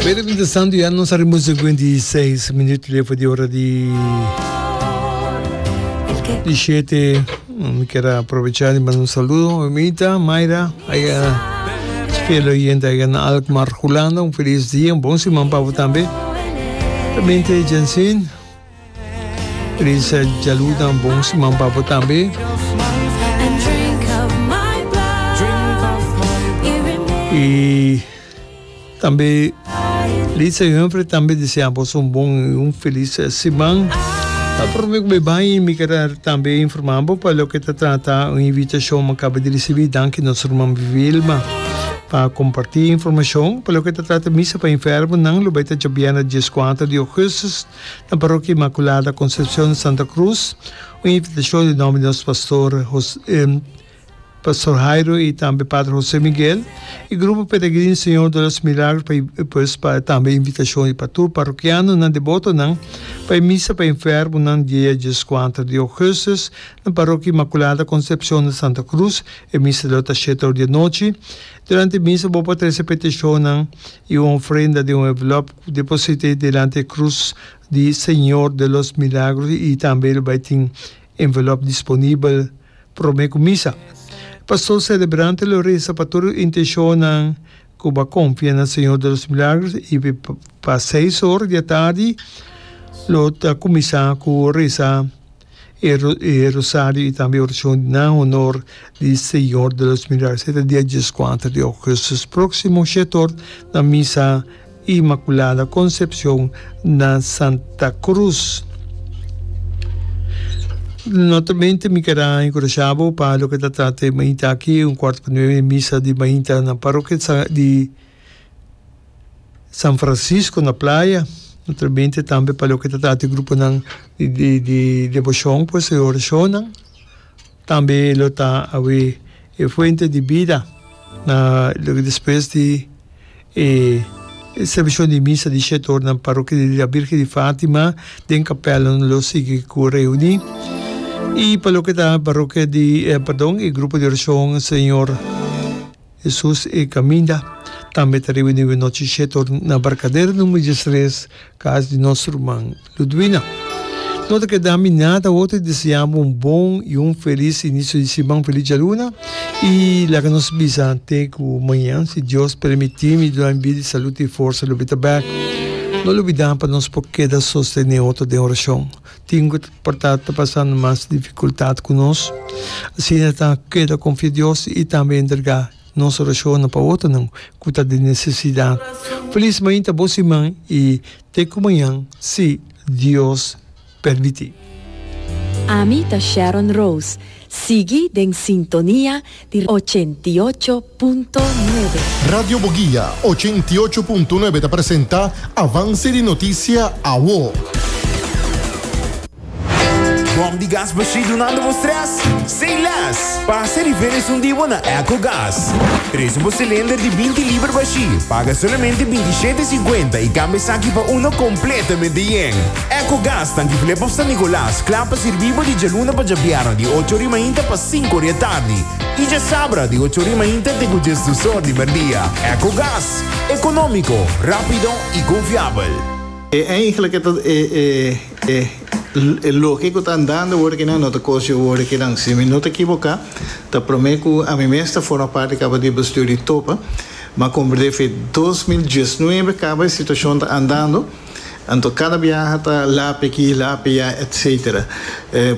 Pero mientras tanto ya nos arriba 56 minuut lefo di ora di di 7. Mi quier aprovechar di manda un saludo a mi amita Mayra aya fiel oyente aya na Alkmaar Hulanda. Un feliz dia, un bon siman pa bo tambe. También te Jensen. Feliz djaluna, un bon siman pa bo tambe. Y tambe Lisa y Humphrey tambe desea boso un bon y un feliz siman. Ta prome cu mi bay mi kier tambe informa bo pa loke ta trata un invitacion mi caba di ricibi danki nos ruman Vilma pa comparti informacion pa loke ta trata misa pa enfermonan lo bay ta djabièrnè dieskuater di augustus na Parokia Inmaculada Concepcion Santa Cruz. Un invitacion di nomber di nos pastor Pastor Jairo y tambe Padre Jose Miguel y Grupo Peregrino Señor de los Milagros pa pues pa tambe invitacion di pa tur parokianonan debotonan pa e misa pa enfermonan dia dieskuater di augustus na Parokia Inmaculada Concepcion na Santa Cruz. E misa lo ta shete or di anochi. Durante e misa bo por trece peticionnan y un ofrenda den un envelop deposite delante e cruz di Señor de los Milagros y tambe lo bay tin envelop disponibel prome cu misa. Pastor celebrante lo reza pa tur intencionnan cu bo a confia na Señor de los Milagros y pa seis or di atardi lo ta cuminsa cu reza e rosario y tambe oracion na honor di Señor de los Milagros. E ta dia dieskuater di augustus proximo shete or na misa Inmaculada Concepcion na Santa Cruz. Notamente mi ker a enkurashá bo pa loke ta trata e mainta aki, un kuarto pa nuebe misa di mainta na parokia di San Francisco na Playa. Naturalmente tambe pa loke ta trata e gruponan di deboshon, pues e orashonnan. Tambe lo ta awe e fuente di bida na loke despues di e servisio di misa di shete or na Parokia di La Virgen di Fatima den kapèl lo sigui ku reuní. I pa loke ta parokia di perdon e grupo di orashon Señor Hesus e Kaminda tambe ta reuní awe nochi shete or na Barkadera numero diestres kas di nos ruman Ludwina, No ta keda mi nada otro di desea bo un bon y un feliz inicio di siman, feliz djaluna y laga nos bisa te cu mañan si Dios permiti mi duna mi bida y salud y forsa lo bita bek. No lubida pa nos por keda sostene otro den oracion. Tin cu por ta ta pasando mas dificultad cu nos, asina ta keda confia Dios y tambe entrega. Nos orashonnan pa otronan ku ta den nesesidat. Felis mainta bo siman i te ku mañan si Dios permití. Ami ta Sharon Rose, sigui den sintonia di 88.9. Radio Boguia 88.9 ta presenta Avance di Noticia Awo. Bom di gas bashí dunando bo stress? Say less! Pasa riba esun di bo na Ecogas. Trese bo cilinder di binti liber bashí, paga solamente 27 cincuenta y cambia esaki pa uno completamente yen. Ecogas tanki Flip of San Nicolas, kla pa sirbi bo di djaluna pa djabièrnè di ocho ori mainta pa sinku ori atardi y djasabra di ocho ori mainta te ku djesdus or di merdia. Ecogas, economico, rapido y confiabel. E eigenlijk e ta e e e loke ku ta andando awor kinan no ta kos di awor kinan. Si mi no ta ekiboká ta promé ku ami mes ta forma parti kaba di bestuur di Topa, m'a komprendé fe 2019 kaba e situashon ta andando, anto kada biaha ta lapi aki, lapi ya etcetera.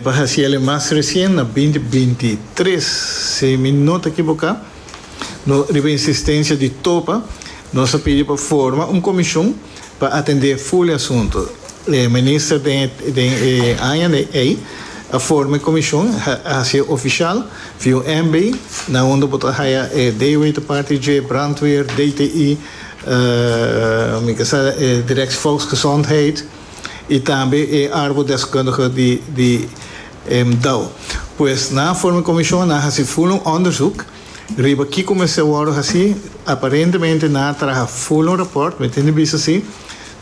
Pa hasi el e mas resien na 2023 si mi no ta ekiboká, no riba insistensia di Topa nos a pidi pa forma un komishon, Pa atendé ful e asuntu, e minister den den e aña ei a forma e komishon, a hasié ofishal via un MB, na unda bo ta haya e DW ta parti dje, Brandweer, DTI, mi ke sa e Directie Volksgezondheid i tambe e arbodeskundige di di dao. Pues nan a forma e komishon, nan a hasi ful un onderzoek. Riba kiko mester wòrdu hasí? Aparentemente nan a traha ful un rapòrt, mi tin di bisa si.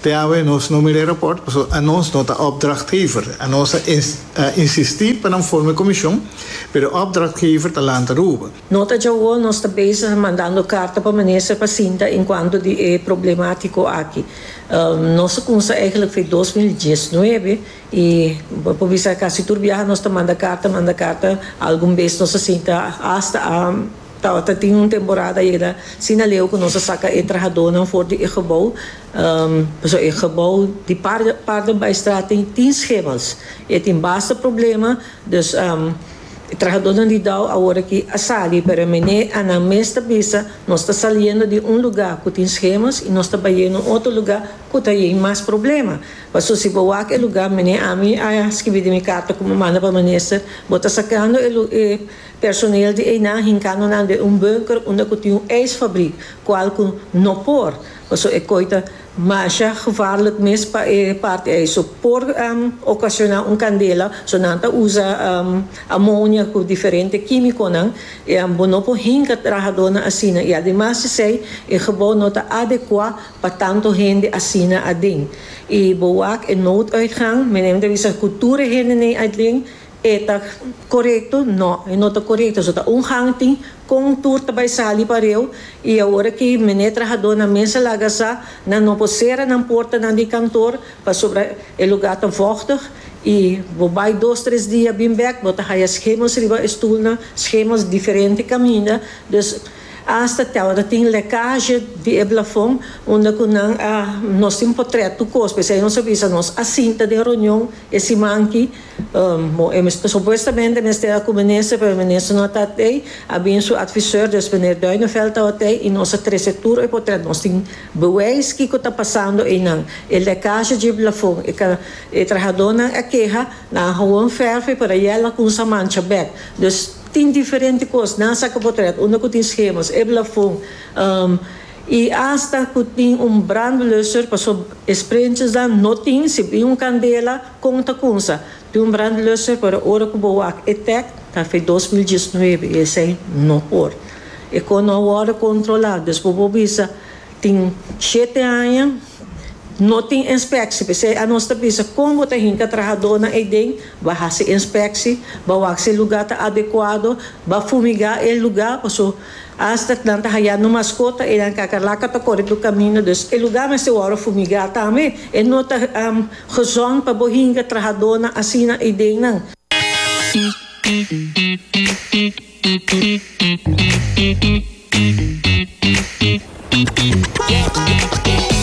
Te awe nos no mira e raport pasobra anos no ta opdrachtgever. Anos a insistí pa nan forma e komishon, pero e opdrachtgever ta Land Aruba. No ta djawo nos ta bezig mandando karta pa minister pa sinta enkuanto di e problemátiko aki. Nos a kumsa eigenlijk for 2019 i bo por bisa kasi tur biaha nos ta manda karta, manda karta, algun bes nos a sinta asta a tabata tin un temporada yega asina leu ku nos a saka e trahadónan for di e gebou, pasobra e gebou di Paardenbaaistraat tin schimmels, e tin basta problema, dus. E trahadónan di Dow awor aki a sali, pero e mené a nan mes ta bisa, Nos ta saliendo di un lugá ku tin schemas i nos ta bayendo un otro lugá ku ta yen mas problema. Paso si bo wak e lugá, mené ami a skibi den mi karta ku mi manda pa minister, bo ta sakando e e personeel di einan hinkando nan den un bunker unda ku tin un ijsfabriek, kual ku no por, paso e koi ta Masha gevaarlijk mes pa e parti ei. So por ocaciona un candela. So nan ta usa amonia cu diferente quimiconan. Bo no por hinca trahadornan asina. Y ademas esey e gebouw no ta adecua pa tanto hende asina aden. Y bo wak e nooduitgang, meneer ta bisa cu tur e hendenan aden E ta korekto? No, e no ta korekto. So ta un gang tin kon tur ta bai sali pareu i awor aki meneer trahadónan mes a laga sa nan no por sera nan portanan di kantor pasobra e lugá ta vòchtig i bo bai dos tres dia bin bèk bo ta haya schemels riba e stulnan, schemels diferente kaminda. Dus asta tabata tin lekage di e blafon unda ku nan a nos tin potrèt tur kos p'esei nos a bisa nos a sinta den reunion e siman aki. Bon, e supuestamente mester a ku minister, pero e minister no ta tei. A bin su adviseur, dus meneer Duineveld tabata tei i nos a trese tur e potret. Nos tin bewijs kiko ta pasando einan. E lekage dje plafon, e ka e trahadónan a keha, nan a gewoon verf e pero yel a kumsa mancha bèk. Dus tin diferente kos. Nan a saka potret unda ku tin schemas, e plafon. I asta ku tin un brandblusser, pasobra e sprintjesnan no tin, si bin un kandela, Kon ta kunsa di un brandblusser pero ora ku bo wak e tek ta fe 2019 i esei no por. E kon no a wòrdu kontrolá dus bo por bisa tin shete aña no tin inspeksi p'esei anos ta bisa kon bo ta hinka trahadónan eiden ba hasi inspeksi ba wak si e lugá ta adekuado ba fumigá e lugá paso Asta nan ta haya no maskota e nan kakarlaka ta kore tur kaminda dus e lugar mester wòrdu fumigá tambe. E no ta gezond pa bo hinka trahadónan asina ei den nan.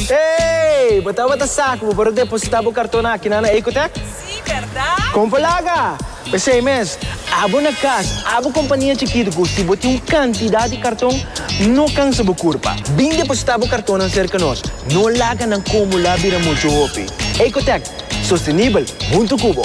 Hey! Bo tabata sa ku bo por a depositá bo kartonnan akinan na Ecotech? Sí, bèrdat? Kon por laga! P'esei mes, abo na kas, abo kompania chikitu ku si bo tin un kantidat di karton, no kansa bo kurpa. Bin depositá bo kartonnan serka nos. No laga nan kumulá bira muchu hopi. Ecotech, sostenibel huntu ku bo!